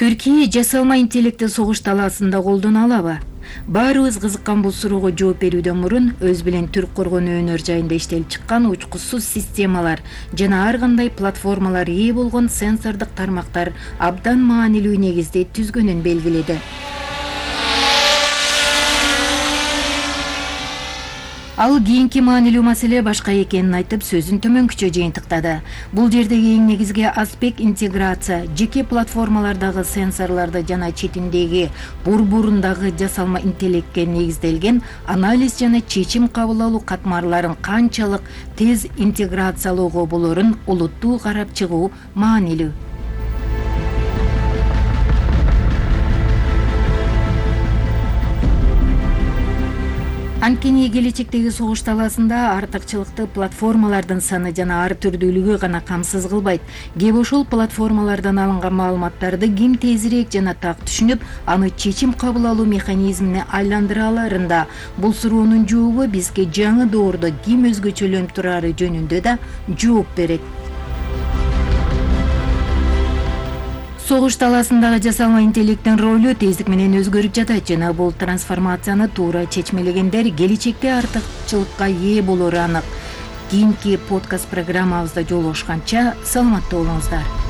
Түркия жасалма интеллектти согуш талаасында колдоно алабы? Баарыбыз кызыккан бул суроого жооп берүүдөн мурун өз билен түрк коргонуу өнөр жайында иштелип чыккан учкучсуз системалар жана ар кандай платформалар ээ болгон сенсордук тармактар абдан маанилүү негизде түзгөнүн белгиледи. Ал кийинки маанилүү маселе башка экенин айтып, сөзүн төмөнкүчө жыйынтыктады. Бул жердеги эң негизги аспект интеграция, жеке платформалардагы сенсорлорду жана четиндеги бурбурундагы жасалма интеллектке негизделген анализ жана чечим кабыл алуу катмарларын канчалык тез интеграциялоого болорун олуттуу карап чыгуу маанилүү. Анткени келечектеги согуш талаасында артыкчылыкты платформалардын саны жана ар түрдүүлүгү гана камсыз кылбайт. Кеп ошол платформалардан алынган маалыматтарды ким тезирээк жана так түшүнүп, аны чечим кабыл алуу механизмине айландыра аларында. Бул суроонун жообу бизге жаңы доордо ким өзгөчөлөнүп турары жөнүндө да жооп берет. Согуш талаасындагы жасалма интеллекттин ролу тездик менен өзгөрүп жатат жана бул трансформацияны туура чечмелегендер келечекте артыкчылыкка ээ болору анык. Кийинки подкаст программабызда жолугушканча саламатта болуңуздар.